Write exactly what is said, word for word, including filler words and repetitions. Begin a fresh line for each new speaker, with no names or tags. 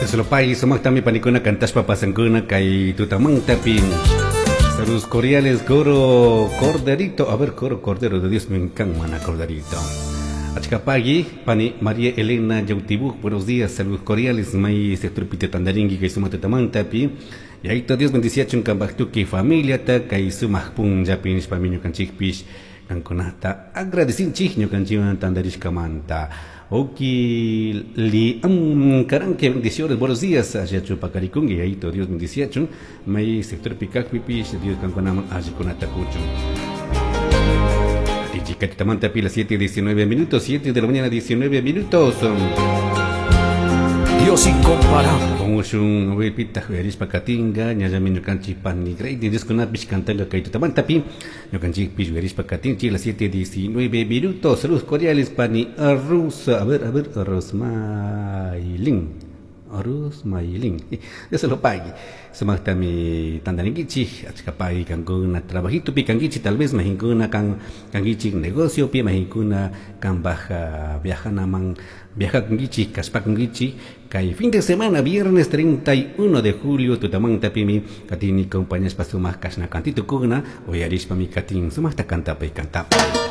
Dios sumaqtami panikuna kantashpa pasankuna kay tutamantapi. Saludos cordiales, coro Corderito. A ver, coro Cordero de Dios, me encanta, mana Corderito. Achkapagui, pani María Elena Yautibuk, buenos días, saludos cordiales, may sector pite tandaringui, kay suma tutamantapi. Y ahí Dios bendiciachun kambaktuki familia ta, kay sumaq punllapi nishpa mi ñukanchikpish, kankunata agradecinchik ñukanchikwan tandarishkamanta. Oki li am karanque bendiciones, buenos días, allá chupacaricungui, ahí todo Dios bendiciachun, may sector pikakpipish, Dios kankunaman allikunata kuchun. Chicatamanta pila siete diecinueve minutos, siete de la mañana diecinueve minutos.
Dios incomparable.
Como un pita juerispa katinga, ñallami ñukanchik pani grey, Dios kunapish kantanga kay tutamantapi, ñukanchik pish juerispa katinchi las siete diecinueve minutos. Saludos cordiales pani Arrusa, a ver, a ver, Rosmailin. Rosmailin. Dios se lo pague. Sumaqtami tandarinkichik, achkapay kankuna trabajito pi kankichik, tal vez mahinkuna kan kankichik negocio pi mahinkuna kan baja viajanaman viajakunkichik, kashpakunkichik, kay fin de semana, viernes treinta y uno de julio, tutamanta pimi katini compañías pa sumaq kashna kantito kuna, uyarishpa mi katin sumaqta kantapay kantapay.